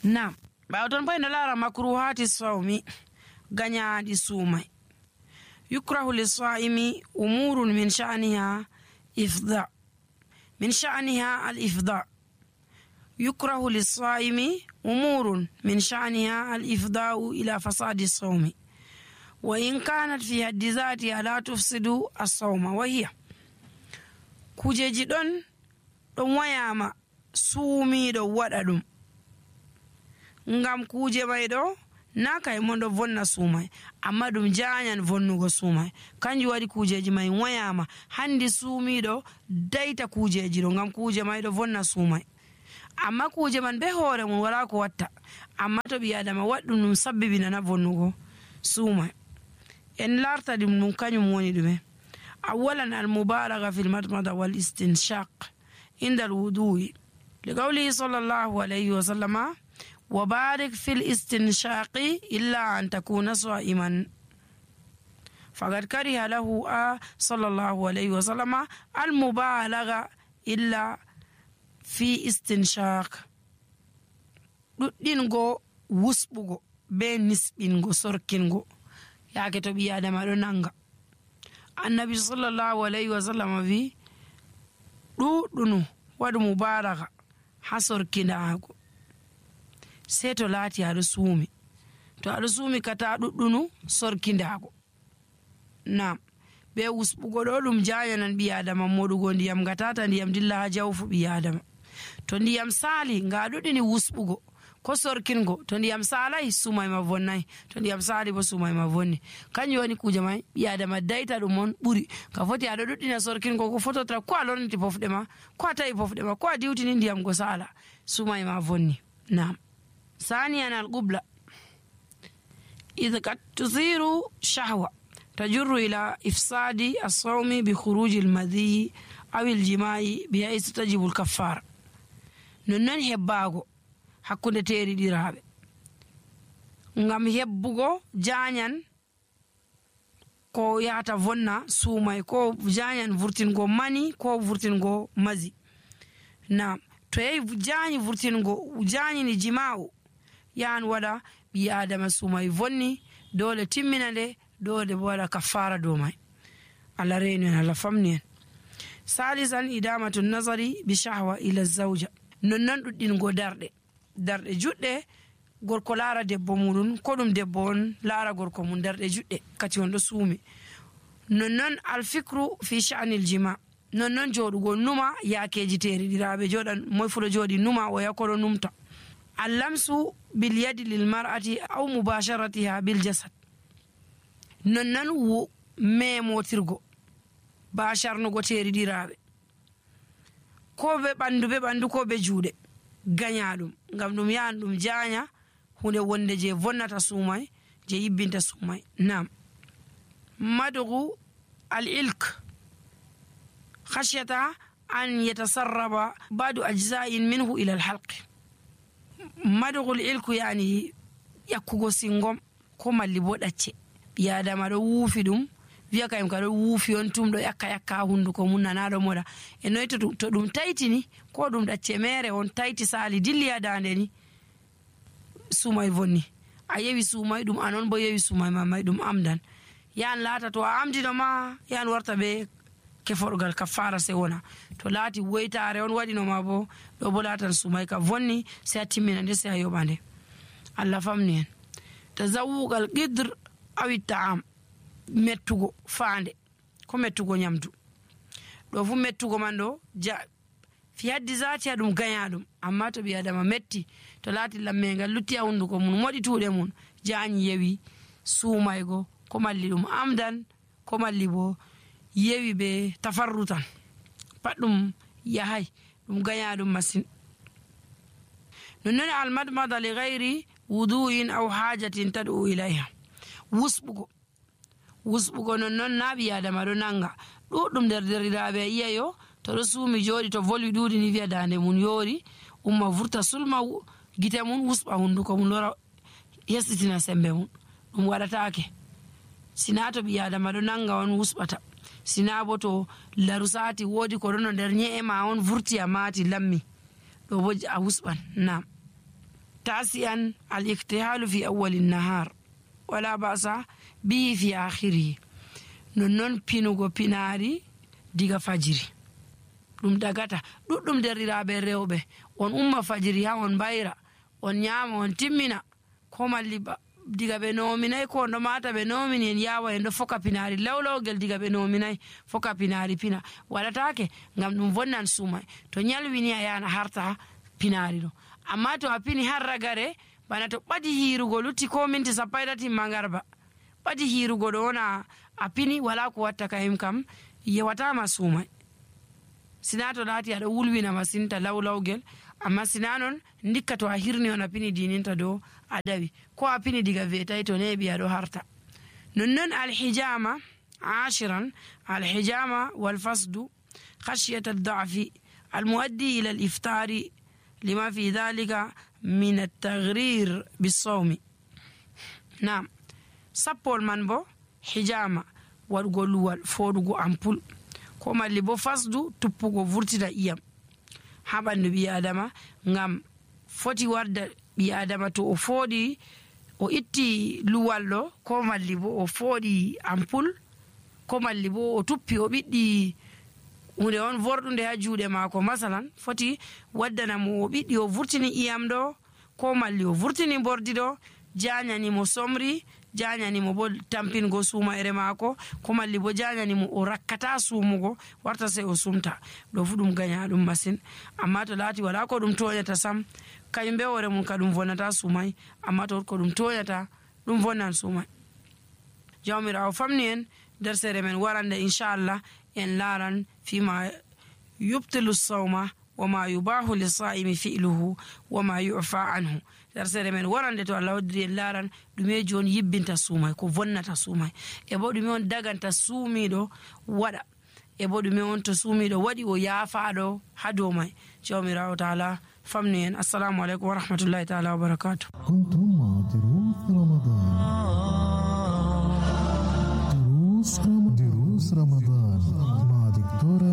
Naam, ɓaawo ton bo en laara makruhati sawmi, gañaaɗi suumay. yukrahu lissaimi umurun min sha'niha al-ifda. yukrahu lissaimi umurun min sha'niha al-ifda'u ila fasadi sawmi wa in kanat fi haddi zatiha la tufsidu as-sawma wa hiya kujeji ɗon wayama suumiɗo waɗa ɗum ngam kuje may ɗo na kay mon ɗo vonna suumay amma ɗum jaanyan vonnugo suumay. kanjum waɗi kujeji may wayama handi suumiɗo dayta kujeji ɗo ngam kuje may ɗo vonna suumay, amma kuje man be hoore mum wala ko watta, amma to ɓi adama waɗɗum ɗum sabbibinana vonnugo suumay. en larta ɗum kañum woni ɗume. awalan al-mubalaga fil madmada wal istinshaq inda al-wudu'i li qawlihi sallallahu alayhi wa sallama wa barik fil istinshaqi illa an takuna sa'iman faqad kariha lahu sallallahu alayhi wa sallama al-mubalaga illa fi istinshaq. ɗuɗɗingo wusɓugo be nisɓingo sorkingo yaake to ɓi adama ɗo nanga. annabi sallallahu alayhi wa sallam wi ɗuɗɗunu waɗu mubaraka ha sorkindago sei to laati aɗo suumi. to aɗo suumi kata ɗuɗɗunu sorkindago. nam be wusɓugo ɗo ɗum jayanan ɓi adama moɗugo ndiyam gatata ndiyam dilla ha jawfu ɓi adama. to ndiyam saali nga ɗuɗɗini wusɓugo ko sorkingo, to ndiyam salay suumay ma vonnay, to ndiyam saali bo suumay ma vonni. kanjum woni kuje may ɓi adama dayta ɗum on ɓuri ka foti aɗo ɗuɗɗina sorkingo ko fototra ko a lorniti pofɗe ma ko a tawi pofɗe ma ko a diwtini ndiyam go sala suumay ma vonni. nam ثانيا القبلة إذا قد تثير شهوة تجر إلى إفساد الصوم بخروج المذي أو الجماع بحيث تجب الكفارة. ننن هباغو hakkunde teeriɗiraaɓe ngam hebbugo jaanyan ko yahata vonna suumay ko jaanyan vurtingo mani ko vurtingo mazi. nam to yehi jaanyi vurtingo jaanyini jima'u yahan waɗa ɓi adama suumay vonni dole timmina nde dole bo waɗa kaffara dow may. allah reenu en, allah famni en. salisan idamatu nazari bi shahwa ila zawja nonnon ɗuɗɗingo darɗe juɗɗe gorko laara debbo muɗum ko ɗum debbo on laara gorko mum darɗe juɗɗe kati on ɗo suumi. nonnon alfikru fi sha'nil jima nonnon joɗugo numa yaakeji teeriɗiraaɓe joɗan moy fu ɗo jooɗi numa o yakoɗo numta. allamsu bil yadi lil mar'ati aw mubasharatiha bil jasad nonnon memotirgo basharnugo teeriɗiraaɓe ko be ɓandu ko be juuɗe gaña ɗum ngam ɗum yahan ɗum jaanya hunde wonde je vonnata suumay je yibbinta suumay. nam madugu al-ilk khashyata an yatasarraba ba'du ajza'in minhu ila al-halq. madugu al-ilku yani yakkugo singom ko malli bo ɗacce ɓi adama ɗo wuufi ɗum wiya kayim ka ɗo wuufi on tum ɗo yakka hunduko mum nanaɗo moɗa e noy to ɗum taytini ko ɗum ɗacce mere on tayti sali dilli ha dande ni suumay vonni. a yewi suumay ɗum anon bo yewi suumay mamay ɗum amdan yahan laata to a amdino ma yahan warta be keforgal kaffara se wona to laati woytare on waɗinoma bo ɗo bo laatan suumay ka vonni se a timmina nde se a yoɓa nde. allah famni en. tazawugal qidr awi ta'am mettugo faande ko mettugo nyamdu ɗo fu mettugo man ɗo fi haddi zati ha ɗum gaña ɗum, amma to ɓi adama metti to laati lammengal lutti ha hunduko mum moɗi tuuɗe mum jaanyi yewi suumaygo ko malli ɗum amdan ko malli bo yewi be tafarrutan pat ɗum yahay ɗum gaña ɗum masin. nonnon almadmada li gayri wudu'in aw hajatin tad'u ilayha wusɓugo nonnon na ɓi adama ɗo nanga ɗuɗɗum nder derɗiraaɓe yiyayo to ɗo suumi jooɗi to volwi ɗuuɗi ni wiya dande mum yoori umma vurta sulma gite mum wusɓa hunduko mum lora yestitina sembe mum ɗum waɗataake. sina to ɓi adama ɗo nanga on wusɓata, sina bo to laru sati woodi ko ɗono nder nye'e ma on vurti a maati lammi ɗo bo a wusɓan. nam تاسعا الاكتحال في أول النهار ولا بأس به في آخره نون بينوغو بيناري ديغا فجري ɗum dagata ɗuɗɗum derriraɓe rewɓe on umma fajiri ha on bayra on nyama on timmina ko malli diga ɓe nominay ko ɗo mata ɓe nomini en yawa en ɗo foka pinari lawlawgel diga ɓe nominay foka pinari pina waɗatake ngam ɗum vonnan sumay to nyalwini a yana harta pinari ɗo amma to a pini har ragare bana to ɓadi hirugo lutti ko minti 30 mangarba ɓadi hirugo ɗo wona a pini wala ko watta kayim kam yewatama sumay sina to laati aɗa wulwina masinta lawlawgel amma sina non ndikka to a hirni on a pini dininta dow a dawi ko a pini diga vetay to neɓi aɗo harta nonnon alhijama 10 الحجامة والفسد خشية الضعف المؤدي إلى الإفطار لما في ذلك من التغرير بالصوم. نعم سبول من بو حجامة والغلوال فورغو أمبول كما اللي بو فسدو تبوغو فورتنا إيام haɓandu ɓi adama ngam foti warda ɓi adama to o fooɗi o itti luwal ɗo ko malli bo o fooɗi ampul ko malli bo o tuppi o ɓiɗɗi hunde on vorɗunde ha juuɗe maako masalan foti waddanamo o ɓiɗɗi o vurtini iyam ɗo ko malli o vurtini bordi ɗo janyanimo somri janyanimo bo tampingo sumayre maako ko malli bo janyanimo o rakkata sumugo warta sey o sumta ɗo fu ɗum gaña ɗum masin amma to laati wala ko ɗum toñata sam kañum be hoore mum ka ɗum vonnata sumay amma to ko ɗum toñata ɗum vonnan sumay. jawmirawo famni en nder sere men warande inchallah en laran fima yubtilu sawma wama yubahu lisaimi fi'luhu wama yu'fa anhu. nder sere men warande to Allah waddiri en laran ɗumeji on yibbinta suumay ko vonnata suumay e bo ɗume on daganta suumiɗo waɗa e bo ɗume on to suumiɗo waɗi o yaafaɗo ha dow may. jawmirawo taala famni en. assalamu aleykum wa rahmatullahi taala wa barakatuh. دروس رمضان مع دكتورة